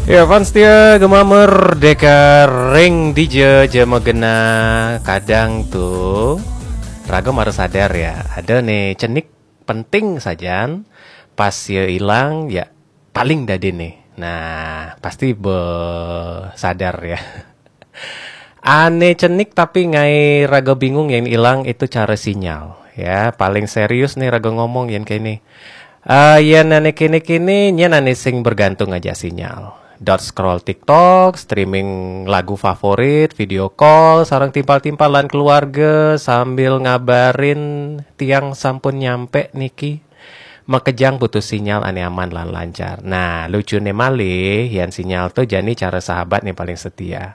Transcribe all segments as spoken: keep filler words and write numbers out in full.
Ya, fans setia Gema Merdeka, ring dija ja magena. Kadang tuh raga mara sadar ya, ada nih cenik penting sajan, pas ya ilang ya paling dadi nih. Nah, pasti be sadar ya. Ane cenik tapi ngai raga bingung yang ilang itu cara sinyal. Ya, paling serius nih raga ngomong yang kayak ini. Eh, ya nane kini-kini, nya nane sing bergantung aja sinyal. Dot scroll TikTok, streaming lagu favorit, video call, sarang timpal-timpalan keluarga sambil ngabarin tiang sampun nyampe niki. Makejang putus sinyal ane aman lan lancar. Nah, lucu nih malih, yang sinyal tuh jani cara sahabat nih paling setia.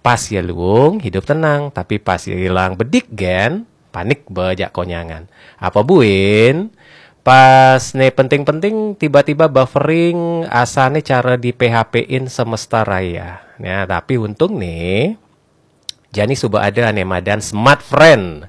Pas ya luung, hidup tenang, tapi pas ya hilang bedik gen, panik bejak konyangan. Apa buin? Pas ne penting-penting tiba-tiba buffering, asane cara di P H P-in semesta raya. Ya, tapi untung nih, jani suba ada ane madan Smart Friend.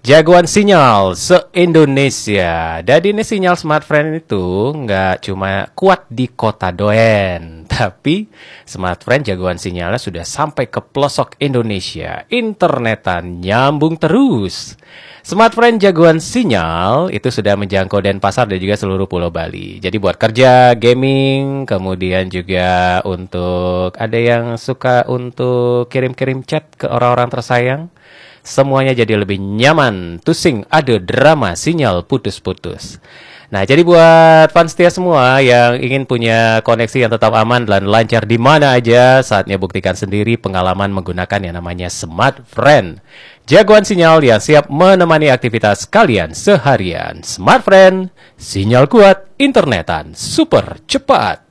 Jagoan sinyal se-Indonesia. Jadi ini sinyal Smart Friend itu nggak cuma kuat di kota doen, tapi Smart Friend jagoan sinyalnya sudah sampai ke pelosok Indonesia. Internetan nyambung terus. Smart Friend jagoan sinyal itu sudah menjangkau Denpasar dan juga seluruh Pulau Bali. Jadi buat kerja, gaming, kemudian juga untuk ada yang suka untuk kirim-kirim chat ke orang-orang tersayang, semuanya jadi lebih nyaman. Tusing ada drama sinyal putus-putus. Nah, jadi buat fans setia semua yang ingin punya koneksi yang tetap aman dan lancar di mana aja, saatnya buktikan sendiri pengalaman menggunakan yang namanya Smart Friend. Jagoan sinyal yang siap menemani aktivitas kalian seharian. Smart Friend, sinyal kuat, internetan super cepat.